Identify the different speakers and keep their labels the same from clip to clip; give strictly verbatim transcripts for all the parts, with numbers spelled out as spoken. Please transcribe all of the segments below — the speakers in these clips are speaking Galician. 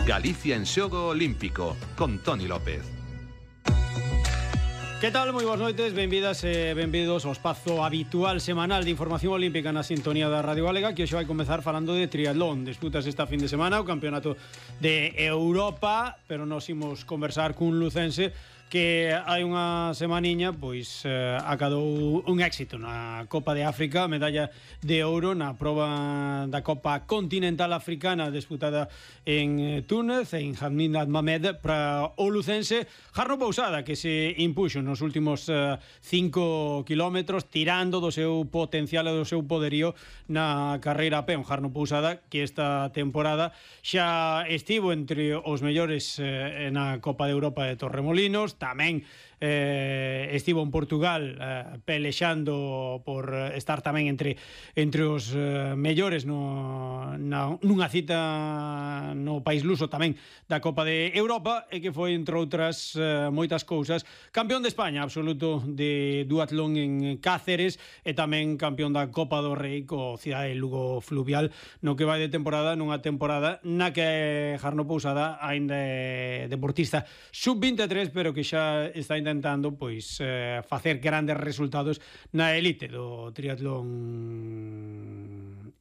Speaker 1: Galicia en xogo olímpico, con Toni López.
Speaker 2: Que tal? Moi boas noites, benvidas e benvidos ao espazo habitual semanal de información olímpica na sintonía da Radio Galega, que hoxe vai comezar falando de triatlón. Disputas esta fin de semana o Campeonato de Europa, pero nos imos conversar cun lucense que hai unha semaniña pois eh, acadou un éxito na Copa de África, medalla de ouro na proba da Copa Continental Africana disputada en Túnez, en Hamid Ahmed, para o lucense Jarno Pousada, que se impuxo nos últimos eh, cinco kilómetros, tirando do seu potencial e do seu poderío na carreira a pé. Un Jarno Pousada que esta temporada xa estivo entre os mellores eh, na Copa de Europa de Torremolinos. Tamén eh, estivo en Portugal eh, pelexando por estar tamén entre entre os eh, mellores no, na, nunha cita no país luso tamén da Copa de Europa, e que foi, entre outras eh, moitas cousas, campeón de España absoluto de duatlón en Cáceres, e tamén campeón da Copa do Rei co Cidade Lugo Fluvial no que vai de temporada, nunha temporada na que Jarno Pousada aínda é deportista sub veintitrés, pero que xa está intentando pois eh, facer grandes resultados na elite do triatlón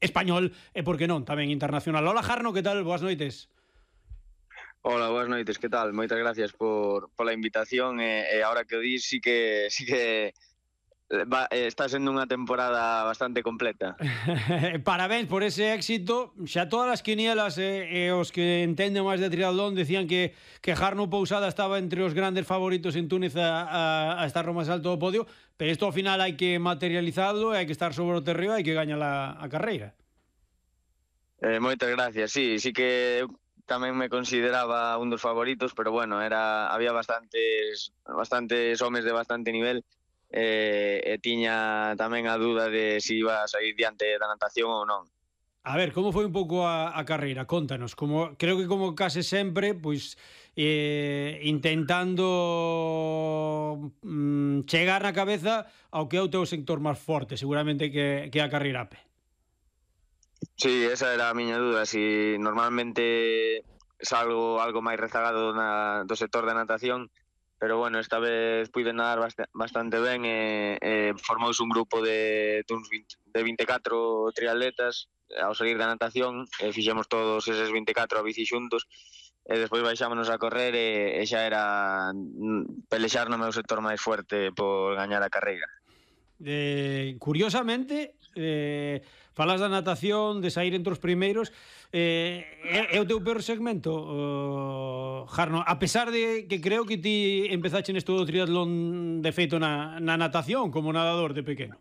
Speaker 2: español e, por que non, tamén internacional. Hola Jarno, que tal? Boas noites.
Speaker 3: Hola, boas noites, que tal? Moitas gracias por pola invitación e, e ahora que o dis, sí que sí que Va, está sendo unha temporada bastante completa.
Speaker 2: Parabéns por ese éxito. Xa todas as quinielas e, e os que entenden máis de triatlón decían que, que Jarno Pousada estaba entre os grandes favoritos en Túnez a, a, a estar no máis alto do podio, pero isto ao final hai que materializarlo, hai que estar sobre o terreo, hai que gañar a, a carreira.
Speaker 3: Eh, moitas gracias, sí, sí que eu tamén me consideraba un dos favoritos, pero bueno, era había bastantes bastantes homes de bastante nivel. E, e tiña tamén a dúda de se si iba a sair diante da natación ou non.
Speaker 2: A ver, como foi un pouco a, a carreira? Contanos. Como, creo que como case sempre, pois eh, intentando mm, chegar na cabeza ao que é o teu sector máis forte, seguramente que, que a carreira a pé.
Speaker 3: Sí, esa era a miña dúda, si normalmente salgo algo máis rezagado na, do sector da natación, pero bueno, esta vez pude nadar bastante ben e, e formouse un grupo de, de veinticuatro triatletas ao salir da natación, e fixemos todos eses veinticuatro a bici xuntos, e despois baixámonos a correr e, e xa era pelexar no meu sector máis fuerte por gañar a carreira.
Speaker 2: Eh, curiosamente, eh, falas da natación, de sair entre os primeiros, eh, é, é o teu peor segmento, uh, Jarno, a pesar de que creo que ti empezaste nesto do triatlón de feito na, na natación como nadador de pequeno.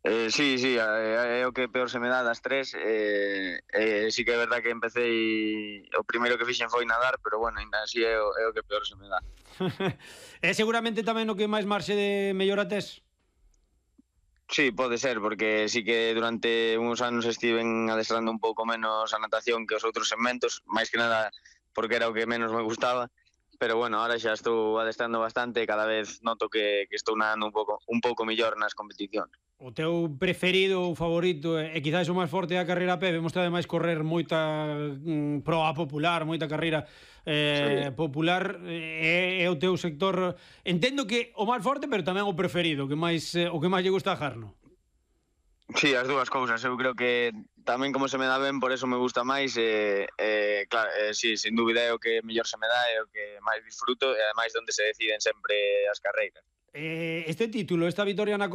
Speaker 3: Eh, sí, sí, é, é o que peor se me dá das tres. eh, eh, sí que é verdad que empecé e o primeiro que fixen foi nadar, pero bueno, ainda así é o, é o que peor se me dá.
Speaker 2: É seguramente tamén o que máis marxe de mellora tes?
Speaker 3: Sí, pode ser, porque sí que durante uns anos estiven adestrando un pouco menos a natación que os outros segmentos, máis que nada porque era o que menos me gustaba, pero bueno, ahora xa estou adestrando bastante e cada vez noto que, que estou nadando un pouco un pouco mellor nas competicións.
Speaker 2: O teu preferido ou favorito e quizás o máis forte é a carreira a pé? Vemos ademais correr moita mm, proa popular, moita carreira eh, sí. popular, é, é o teu sector. Entendo que o máis forte, pero tamén o preferido, que máis, eh, o que máis lle gusta a Jarno.
Speaker 3: Sí, as dúas cousas. Eu creo que tamén como se me dá ben, por eso me gusta máis. E, eh, claro, eh, sí, sin dúbida é o que mellor se me dá, é o que máis disfruto, e ademais onde se deciden sempre as carreiras.
Speaker 2: Eh, este título, esta vitoria na